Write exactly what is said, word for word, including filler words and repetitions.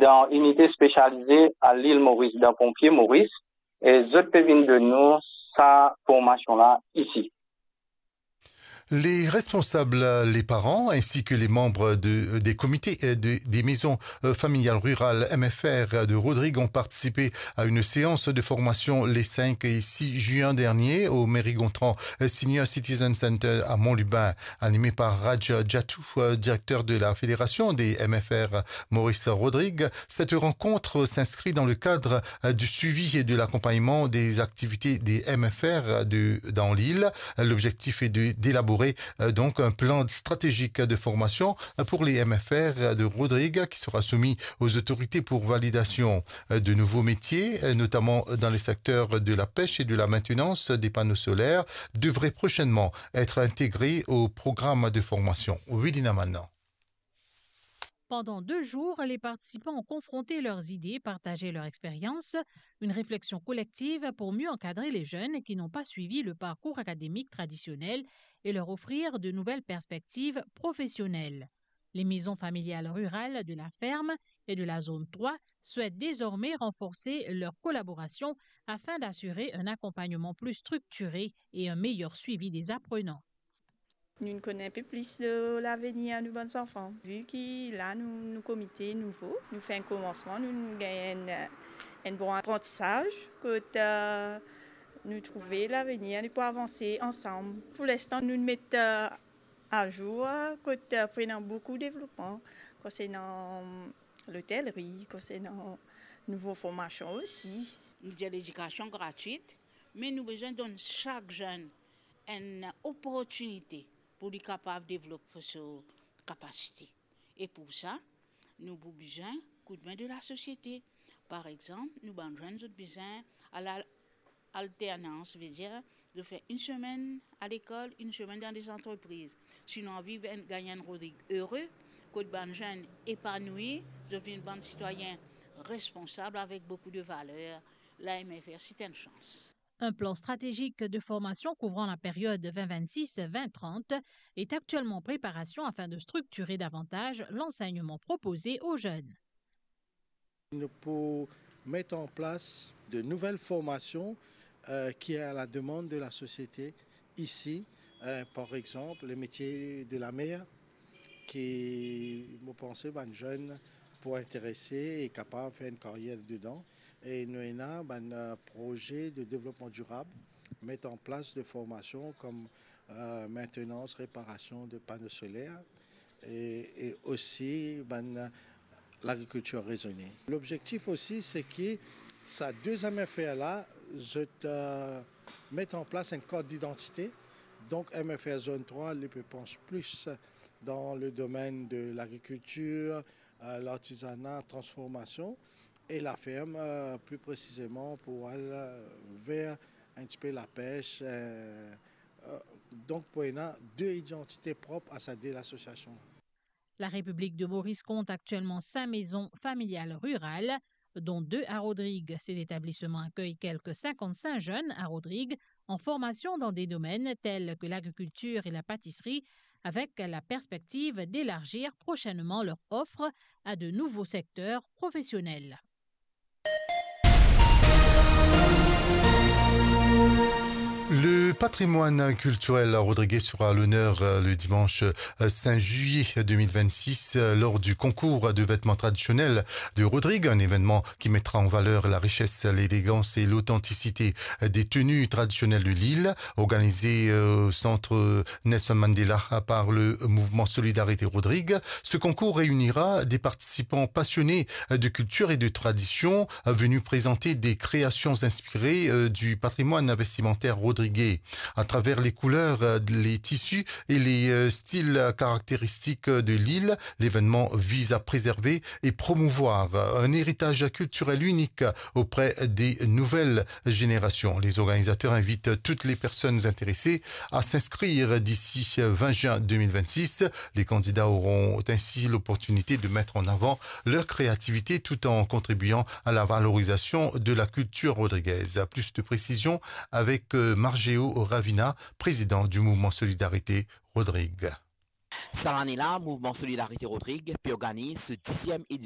dan inite spesialize a Lil Moris, dan Ponpie Moris, e zot pe vinn donn nou sa formasion la isi. Les responsables, les parents ainsi que les membres de, des comités, euh, de, des maisons, euh, familiales rurales, M F R, de Rodrigues ont participé à une séance de formation les cinq et six juin dernier au Mary Gontran, euh, Senior Citizen Center à Mont-Lubin, animée par Raj Jatou, euh, directeur de la Fédération des M F R Maurice Rodrigues. Cette rencontre s'inscrit dans le cadre, euh, du suivi et de l'accompagnement des activités des M F R de, dans l'île. L'objectif est de, d'élaborer, euh, donc un plan stratégique de formation, euh, pour les M F R de Rodrigues qui sera soumis aux autorités pour validation. Euh, de nouveaux métiers, euh, notamment dans les secteurs de la pêche et de la maintenance des panneaux solaires, devraient prochainement être intégrés au programme de formation. Wilina Manan. Pendant deux jours, les participants ont confronté leurs idées, partagé leur expérience, une réflexion collective pour mieux encadrer les jeunes qui n'ont pas suivi le parcours académique traditionnel et leur offrir de nouvelles perspectives professionnelles. Les maisons familiales rurales de la ferme et de la zone trois souhaitent désormais renforcer leur collaboration afin d'assurer un accompagnement plus structuré et un meilleur suivi des apprenants. Nou kone enpe plis de lavenir nou bann zanfan, vi ki la nou, nou komite nouvo, nou fer enn komansman, nou, nou gagn enn, enn bon aprantisaz, kot, eh, nou trouve lavenir nou pou avanse ansam. Pou linstan, nou met, eh, azour, eh, kot, eh, pou ena boukou devlopman konsernan lotelri, konsernan nouvo formasion osi. Nou dir ledikasion gratwit, me nou bizin donn sak zenn enn oportinite pou li kapav devlop so kapasite. E pou sa, nou pou bizin koudme de lasosiete. Par exanp, nou bann zenn, zot bizin al alternans, vedir zot fer enn semenn a lekol, enn semenn dan de zantrepriz. Si nou anvi vinn gagn enn Rodrig ere, kot bann zenn epanouir, zot vinn bann sitwayin responsab avek boukou de valer, la M F R, c'est une chance. Un plan stratégique de formation couvrant la période vingt vingt-six vingt trente est actuellement en préparation afin de structurer davantage l'enseignement proposé aux jeunes. Nou pou met an plas de nouvel formasion, eh, ki est à la demande de la société ici, eh, par exemple, le métier de la mer, ki, mo panse, bann zenn pou interese e kapav fer enn karyer dedan. E nou ena bann, eh, proze de devlopman dirab, met an plas de formasion kom, eh, maintenance, réparation de panneaux solaires, e, e osi bann, eh, lagrikiltir rezone. Lobzektif osi, se ki sa deziem M F R la, zot, eh, met an plas enn kart didantite. Donk, M F R Zone trois, li pe pans plis dan le domenn de lagrikiltir, eh, lartizana, transformasion, e laferm, eh, pli presizeman pou al, eh, ver enn tipe lapes, eh, eh, donk pou ena de idantite prop a sa de lasosiasion. La République de Maurice compte actuellement cinq maisons familiales rurales, dont deux à Rodrigues. Cet établissement accueille quelques cinquante-cinq jeunes à Rodrigues en formation dans des domaines tels que l'agriculture et la pâtisserie, avec la perspective d'élargir prochainement leur offre à de nouveaux secteurs professionnels. Le patrimoine culturel rodriguais sera à l'honneur, euh, le dimanche, euh, cinq juillet deux mille vingt-six, euh, lors du concours de vêtements traditionnels de Rodrigues, un événement qui mettra en valeur la richesse, l'élégance et l'authenticité des tenues traditionnelles de l'île, organisé, euh, au centre Nelson Mandela par le mouvement Solidarité Rodrigues. Ce concours réunira des participants passionnés de culture et de tradition, euh, venus présenter des créations inspirées, euh, du patrimoine vestimentaire rodriguais. À travers les couleurs, euh, les tissus et les, euh, styles caractéristiques de l'île, l'événement vise à préserver et promouvoir un héritage culturel unique auprès des nouvelles générations. Les organisateurs invitent toutes les personnes intéressées à s'inscrire d'ici vingt juin deux mille vingt-six. Les candidats auront ainsi l'opportunité de mettre en avant leur créativité tout en contribuant à la valorisation de la culture rodriguaise. Plus de précisions avec, euh, Margeo Ravina, président du mouvement Solidarité Rodrigues. Sa lane la, Mouvman Solidarite Rodrig pe organiz so diziem